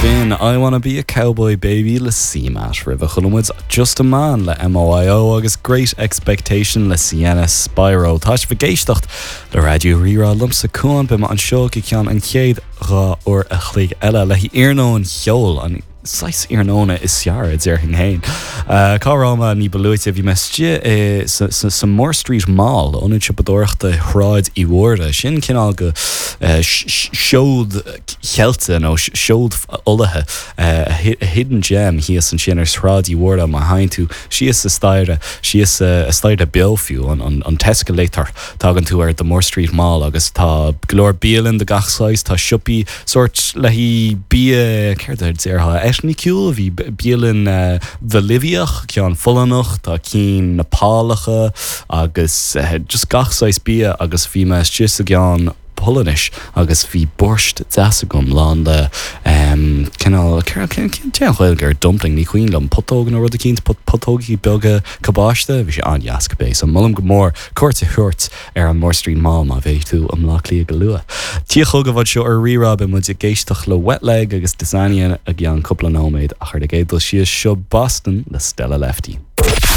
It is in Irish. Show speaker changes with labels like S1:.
S1: B'in I Wanna Be A Cowboy Baby le CMAT. Roimhe chuala muid Just A Man le MOIO agus Great Expectation le Sienna Spiro. Tá sibh ag éisteacht le Raidió Rí-Rá liomsa Cuán. Beidh mé anseo go ceann an chéad 2 uair a chloig eile le haghaidh iarnóin cheoil, an saghas iarnóna is fearr, a déarfainn féin. Cá raibh mé ní ba luaite? Bhí mé istigh sa Moore Street Mall, ionad siopadóireachta Shráid Uí Mhórdha. Sin cineál de seod cheilte nó seod folaithe, a hidden gem thíos ansin ar Shráid Uí Mhórdha má théann tú síos an staighre, síos an staighre beo fiú, an t-escalator, tagann tú ar The Moore Street Mall agus tá go leor bialann de gach saghas, tá siopaí sórt le haghaidh bia, céard a déarfá, eitniciúil, bhí bialann Bholiviach, ceann Pholannach, tá cinn Nepálacha agus just gach saghas bia agus bhí mé istigh sa gceann Polainnis agus bhí borscht deas agam lán le cineál, cén Ghaeilge ar dumpling, ní cuimhin liom, putóg nó rud eicínt, putógaí beaga cabáiste, bhí sé an-deas cibé, so molaim go mór cuairt a thabhairt ar an Moore Street Mall má bheidh tú i mBleá Cliath go luath. Tia chugaibh anseo ar Rí-Rá, beidh muid ag éisteacht le Wet Leg agus Dysania i gceann cúpla nóiméad ach ar an gcéad dul síos, seo Boston le Stella Lefty.